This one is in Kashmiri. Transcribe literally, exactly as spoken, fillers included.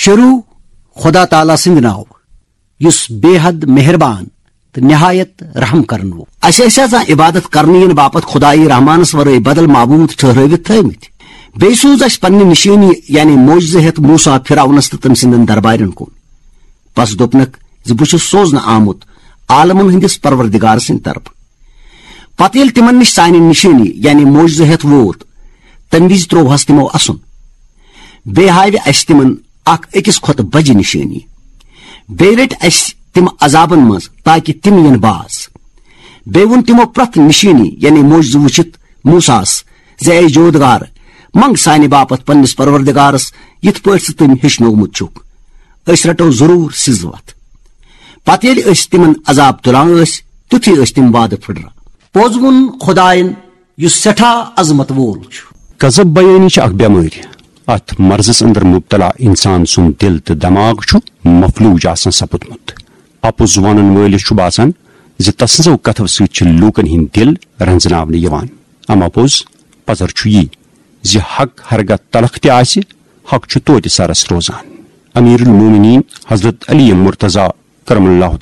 چرو خدا تعالیٰ سٕنٛدِ ناوٕ، یُس بے حد مہربان تہٕ نہایت رحم کرن وول۔ اسہِ ٲسۍ آسان عبادت کرنہٕ یِنہٕ باپتھ خدایہِ رحمانس ورٲے بدل معبوٗد ٹھہرٲوِتھ تھٲومٕتۍ۔ بیٚیہِ سوٗز اسہِ پننہِ نشٲنی یعنی معجزٕ ہٮ۪تھ موسیٰ فرعونس تہٕ تٔمۍ سٕنٛدٮ۪ن دربارٮ۪ن کُن۔ پس دوٚپنکھ زِ بہٕ چھُس سوزنہٕ آمُت عالمن ہٕنٛدِس پروردگار سٕنٛدِ طرفہٕ۔ پتہٕ ییٚلہِ تِمن نِش سانہِ نشٲنی یعنی معجزٕ ہٮ۪تھ ووت، تمہِ وِزِ ترووہس تِمو اسُن۔ بیٚیہِ ہاوِ اسہِ تِمن اکھ أکِس کھۄتہٕ بجہِ نشٲنی۔ بیٚیہِ رٔٹۍ اسہِ تِم عذابن منٛز تاکہ تِم یِن باز۔ بیٚیہِ ووٚن تِمو پرٛٮ۪تھ نشٲنی یعنی معجزٕ وٕچھِتھ موسیٰس زِ اے جودگار، منگ سانہِ باپتھ پننِس پروردگارس یِتھ پٲٹھۍ ژٕ تٔمۍ ہیٚچھنومُت چھُکھ۔ أسۍ رٹو ضروٗر سٕز وتھ۔ پتہٕ ییٚلہِ أسۍ تِمن عذاب تُلان ٲسۍ، تیُتھُے ٲسۍ تِم وعدٕ پھٕٹران۔ پوٚز ووٚن خداین، یُس سٮ۪ٹھاہ عظمت وول چھُ۔ غضب بیٲنی چھِ اکھ بٮ۪مٲرۍ۔ اتھ مرضس اندر مبتلا انسان سُنٛد دل تہٕ دماغ چھُ مفلوج آسان سپُدمُت۔ اپُز ونن وٲلِس چھُ باسان زِ تسٕنزو کتھو سۭتۍ چھِ لوٗکن ہٕنٛدۍ دل رنزناونہٕ یِوان۔ اما پوٚز، پزر چھُ یی زِ حق ہرگاہ تلخ تہِ آسہِ، حق چھُ توتہِ سرس روزان۔ امیر المومنین حضرت علی مرتضی کرم اللہ تعالیٰ